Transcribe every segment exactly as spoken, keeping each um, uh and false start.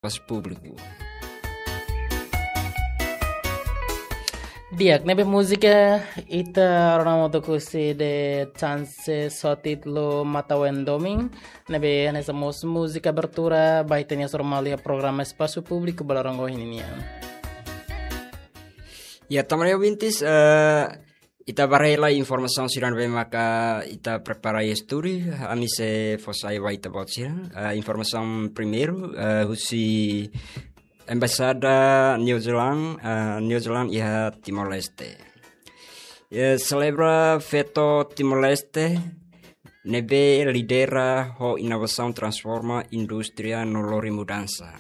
Espasu Públiku. Di'ak, ne'ebé múzika ita rona moto husi The Chances ho títulu Mata Wendoming, ne'ebé hanesan mós múzika abertura ba ita-nia Soru Malu iha programa Espasu Públiku ba loron ohin nian. Ya, tanba ne'e ouvintes, eh, ita ba haree lai informasaun sira ne'ebé maka ita prepara iha estúdiu, ami sei fó sai ba ita-boot sira. Eh, informasaun primeiru, eh, husi Embaixada New Zealand, eh, New Zealand iha Timor-Leste. Eh, selebra feto Timor-Leste, ne'ebé lidera ho inovasaun transforma indústria no lori mudansa.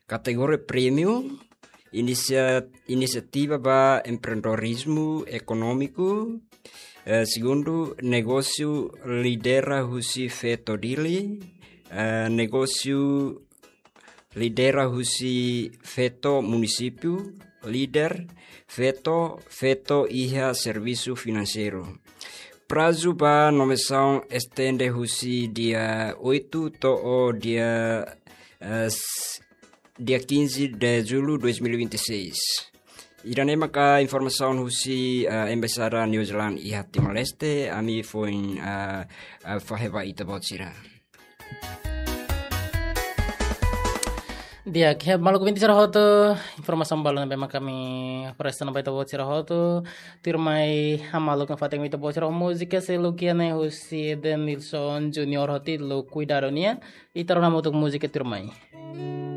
Kategoria prémiu, inisia-, inisiativa ba empreendedorizmu ekonómiku. Eh, segundu, negósiu lidera husi feto Dili. Eh, negósiu lidera husi feto munisípiu, líder, feto, feto iha servisu finanseiru. Prazu ba nomeasaun estende husi dia oito to'o dia, eh, s-, dia quinze de julho dois mil e vinte e seis. Ida-ne'e maka informasaun husi, eh, Embaixada New Zealand iha Timor-Leste, ami foin, eh, eh, fahe ba ita-boot sira. Di'ak, maluk ouvinte sira hotu, informasaun balun ne'ebé maka ami apresenta ba ita-boot sira hotu. Tuirmai hamaluk nafatin ita-boot sira ho múzika seluk iha ne'e husi Denilson Junior ho títulu Kuidadu nian. Ita rona hamutuk múzika tuirmai.